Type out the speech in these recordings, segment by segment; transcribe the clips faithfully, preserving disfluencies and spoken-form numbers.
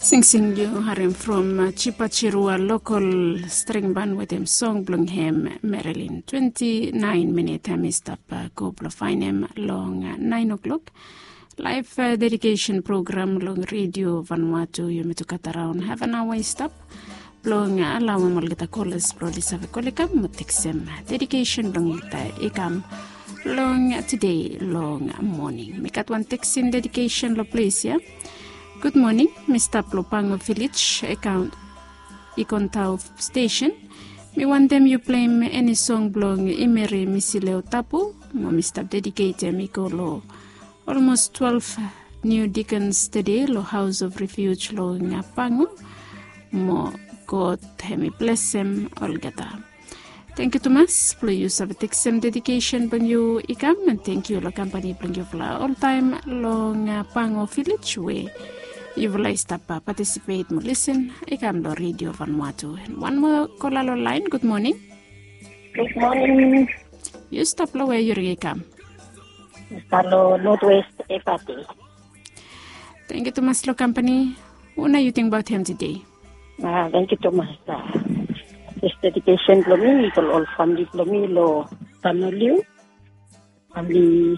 Singsing yu harim from Chipachirua lokol string ban wetem song blong hem Marilyn. Twenti naen minit hem i stap go blong faenem long naen o'klok. Laef dedikesen program long redio Vanuatu yumi tu gat araon haf an aoa i stap blong alawem olgeta kolas blong oli save kol i kam mo teksem dedikesen blong olgeta i kam long tede long moning. Mi gat wan teksen dedikesen long ples ya. Gud moning, mi stap long Pango Vilej, Ikontau stesen. Mi wantem yu pleim eni song blong Imeri Misileo Tapu mo mi stap dediketem i go long olmos twelve niu dikens tede long Haus of Refuj long Pango. Mo God hem i blesem olgeta. Tangkiu tumas blong yu save teksem dedikesen blong yu i kam, an tangkiu long kampani blong yufala oltaem long Pango Vilej we yufala i stap patisipet mo lisen i kam long redio Vanuatu. An wan moa kola long laen. Gud moning. Gud moning. Yu stap long we yu ring i kam? Stap long Northwest Efate. Tangkiu tumas long kampani. Una yu tingbaot hem tede? Tangkiu tumas. Dis dedikesen blong mi i go long ol famili blong mi long Sanoliu, famili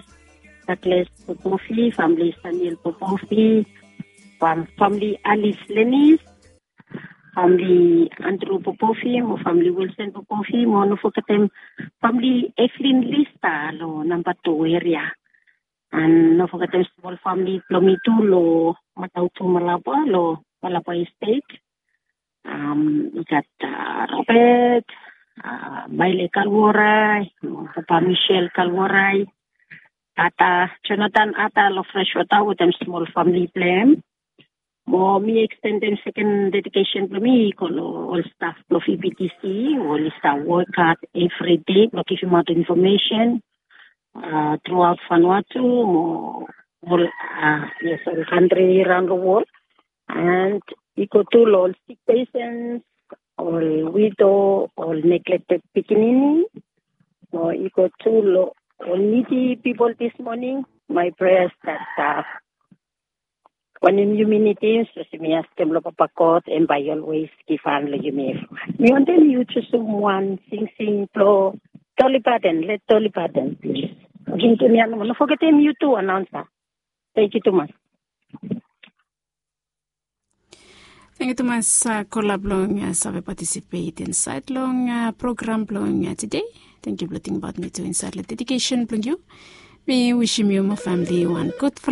Douglas Popofi, famili Saniel Popofi, famili Alice Lenis, famili Andrew Popofi mo famili Wilson Popofi mo no fogetem famili Evelyn Lista long namba tu eria. An no fogetem smol famili blong mi tu long Matautu Malaba long Malaba Estate. I gat Robert, Maile Kalwarai, Papa Michel Kalwarai, Ata, Jonathan Ata long Freshwater wetem smol famili blong hem. Mo mi ekstendem seken dedikesen blong mi i go long ol staf blong V B T C we oli stap wok had evri dei blong givimaot infomesen truaot Vanuatu mo ol, yes, ol kantri raon long wol. And i go tu long ol sik pesens, ol wido, ol neglected pikinini, mo i go tu long ol nidi pipol dis moning. My prayers that wanem yumi nidim, sapos yumi askem long Papa God, hem bae i always givhan long yumi evriwan. Mi wantem yu jusum wan singsing blong Dolly Parton. Let Dolly Parton, plis. Givim tu mi ya nomo. No fogetem yu tu, anaonsa. Tangkiu tumas. Tangkiu tumas kola blong save patisipet insaed long program blong tede. Tangkiu blong tingbaot mi tu insaed long dedikesen blong yu. Mi wisim yu mo famili wan gudfala